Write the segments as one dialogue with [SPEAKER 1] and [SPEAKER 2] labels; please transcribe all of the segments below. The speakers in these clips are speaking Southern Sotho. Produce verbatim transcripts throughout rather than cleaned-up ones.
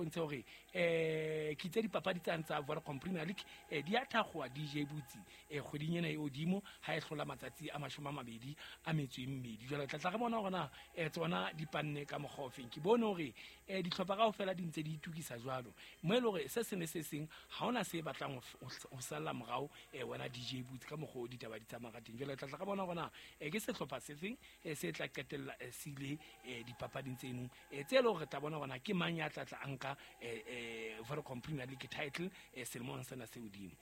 [SPEAKER 1] bontshe hore um ke itse dipapadi tsane tsa Vodacom Premier League um di a thakgowa D J Butsi um kgweding ena e hodimo ha e hlola matsatsi a mashome a mabedi a metso e mmedi. Jwale tla tla re bona hore na um tsona di panne ka mokgwa ofeng. Ke bone hore um dihlopha kaofela di ntse di itukisa jwalo, mo e le hore se seng le se seng ha hona se batlang ho salla morao um wena D J Butsi ka mokgwa o ditaba di tsamaya ka teng. Jwale tla tla re bona hore na um ke sehlopha se feng se tla qetella se ile dipapading tseno tse e leng hore re tla bona hore na ke mang ya tla tla a nka Vodacom Premier League title selemong sena se hodimo.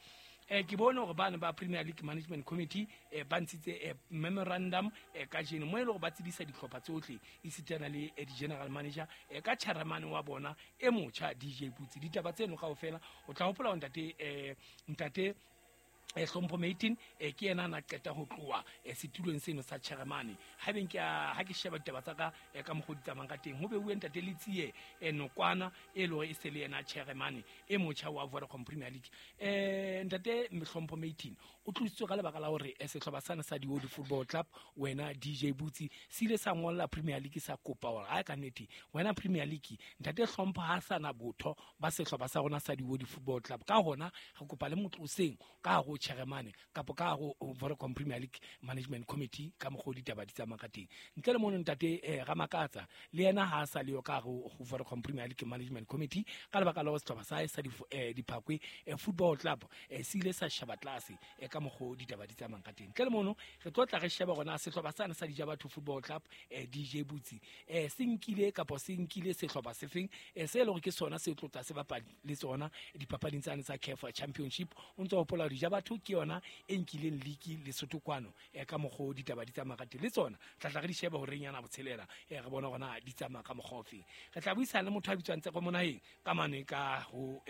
[SPEAKER 1] Eh ke bone hore bana ba Premier League Management Committee eh ba ntshitse memorandum kajeno mo e leng hore ba tsebisa dihlopha tsohle esitana le di-general manager ka chairman wa bona e motjha D J Butsi. Ditaba tseno kaofela o tla hopola hore ntate eh ntate eh Hlompho Matin eh ke yena na qeta ho tloha setulong seno sa chairman. Ha beng ke ha ke sheba ditaba tsa ka ka mokgwa di tsamayang ka teng, ho beuwe ntate Letsie Nokwana e le hore e se le yena chairman e motjha wa Vodacom Premier League. Eh ntate Hlompho Matin o tlositswe ka lebaka la hore sehlopha sane sa Dioli Football Club wena D J Butsi se ile sa ngolla Premier League sa kopa hore ha ka nnete wena Premier League ntate Hlompho ha sana botho ba sehlopha sa rona sa Dioli Football Club, ka hona re kopa le motloseng ka ho chairman kapa ka ho Vodacom Premier League Management Committee ka mokgwa ditaba di tsamaya ka teng. Ntle le mono ntate eh Ramakatsa le yena ha sa le yo ka ho Vodacom Premier League Management Committee ka lebaka la sehlopha sa hae sa Diphakwe Football Club se ile sa sheba tlase ka mokgwa ditaba di tsamayang ka teng. Ntle le mono re tlo tla re sheba rona sehlopha sane sa Dijabatho Football Club D J Butsi eh se nkile kapa se nkile sehlopha se feng se le hore ke sona se tlotla se bapala le tsona dipapading tsane tsa C A F Championship. O ntso hopola hore Dijabatho ke yona e nkileng league Lesotho kwano ka mokgwa ditaba di tsamaya ka teng, le tsona tla tla re di shebe hore nyana botshelela re bona hore na di tsamaya ka mokgwa ofeng. Re tla buisana le motho a bitswang Tseko Monaheng ka mane ka ho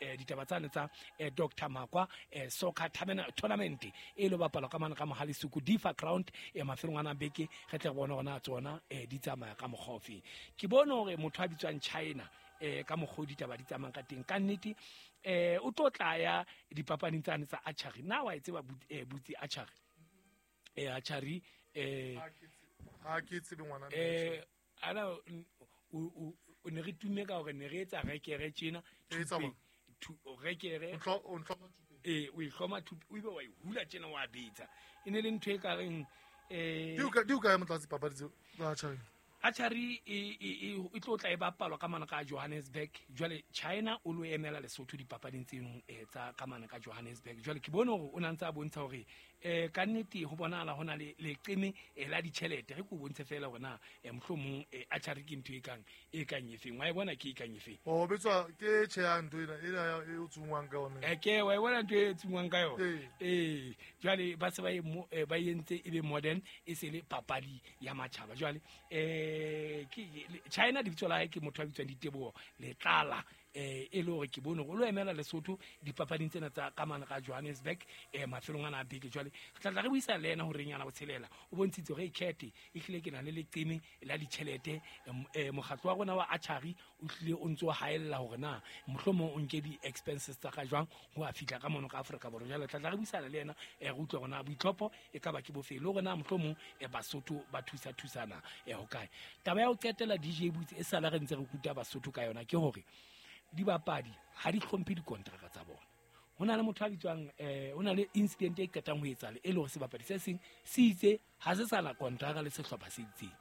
[SPEAKER 1] ditaba tsane tsa Doctor Makwa soccer tournament e lo bapalwa ka mane ka Mohale Suku Difa Ground e mafelong ana beke. Re tle re bona hore na tsona di tsamaya ka mokgwa ofeng. Ke bone hore motho a bitswang China eh ka mokgwa ditaba di tsamayang ka teng ka nnete eh o tlo tla ya dipapading tsane tsa archery. Na wa e tseba Butsi archery? Eh archery eh
[SPEAKER 2] ha ke tsebe ngwana
[SPEAKER 1] eh ana o o ne re tume ka hore ne re etsa rekere tjena rekere eh o ihloma thupe o ibe wa e hula tjena wa betsa e ne le ntho e ka reng eh
[SPEAKER 2] di o ka di o ka ya motlatsi papadi tseo tsa archery.
[SPEAKER 1] Archery e e e tlo tla e bapalwa ka mane ka Johannesburg. Jwale China o lo emela Lesotho dipapading tseno tsa ka mane ka Johannesburg. Jwale ke bone hore o na ntse a bontsha hore eh ka nnete ho bonahala hona le leqeme la ditjhelete. Re ko bontshe fela hore na mohlomong archery ke ntho e kang e kang efeng. Wa e bona ke e kang efeng?
[SPEAKER 2] O bitswa ke tjhe ntho ena ena e o tsungwang ka yona.
[SPEAKER 1] Eh ke wa e bona ntho e tsungwang ka yona. Eh jwale ba se ba e ba entse e be modern e se le papadi ya matjhaba. Jwale eh ke China lebitso la hae ke motho a bitswang Diteboho Letlala eh e le hore ke bone hore o lo emela Lesotho dipapading tsena tsa ka mane ka Johannesburg eh mafelong ana a beke. Jwale re tla tla re buisana le yena hore nyana botshelela o bontshitse hore ikhethe e hlile ke na le leqeme la ditjhelete. Mokgatlo wa rona wa archery o hlile o ntso haella hore na mohlomong o nke di-expenses tsa ka jwang ho a fihla ka mono ka Afrika Borwa. Jwale tla tla re buisana le yena re utlwe hore na boitlhopho e ka ba ke bofe le hore na mohlomong Basotho ba thusa thusana ho kae. Taba ya ho qetela D J Butsi e sala re ntse re kuta Basotho ka yona ke hore dibapadi ha di hlomphe dikontraka tsa bona. Ho na le motho a bitswang eh ho na le incident e qetang ho etsahala e le hore sebapadi se seng se itse ha se sana kontraka le sehlopha se itseng.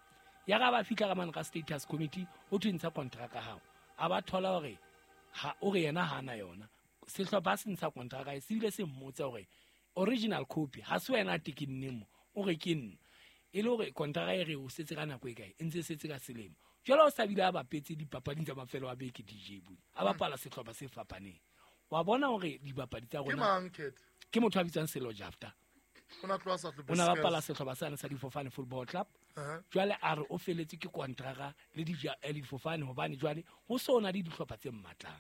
[SPEAKER 1] Ya ga ba fihla ka mane ka status committee ho thwe ntsha kontraka hao, a ba thola hore ha o re yena ha na yona. Sehlopha se ntsha kontraka se bile se mmotsa hore original copy ha se wena tekenneng mo, o re ke nna. E le hore kontraka e re o setse ka nako e kae, e ntse setse ka selemo. Jwale o sa bile a bapetse dipapading tsa mafelo a beke D J Butsi a bapala sehlopha se fapaneng. Wa bona hore dibapadi tsa rona ke motho a bitswang Selo Jafta
[SPEAKER 2] o na tloha sa tlo
[SPEAKER 1] o na bapala sehlopha sane sa Difofane Football Club. Jwale a re o feletse ke kontraka le Difofane hobane jwale ho so na le dihlopha tse mmatlang.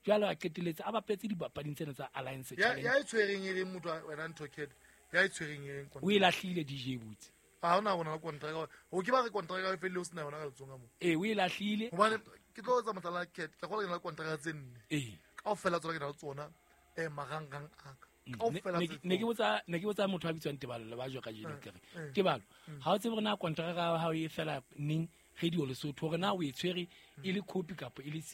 [SPEAKER 1] Jwale a qeteletse a bapetse dipapading tsena tsa Alliance Challenge.
[SPEAKER 2] Ya e tshwereng e leng motho wena ntho kid ya e tshwereng e leng
[SPEAKER 1] o e lahlile D J Butsi.
[SPEAKER 2] Ha hona hona kontraka o ke ba re kontraka e felle o sena yona ka letsonga mo.
[SPEAKER 1] Eh o e lahlile
[SPEAKER 2] hobane ke tlo etsa mohlala kid ke gola ke na le kontraka tse nne.
[SPEAKER 1] Eh
[SPEAKER 2] kaofela tsona ke na le tsona eh marangrang a ka kaofela.
[SPEAKER 1] Ne ke botsa ne ke botsa motho a bitswang Tebalo le ba jo ka jeno ke re Tebalo ha o tsebe hore na kontraka ya hao e fela neng radio Lesotho hore na o e tshwere e le copy kapa e le siko.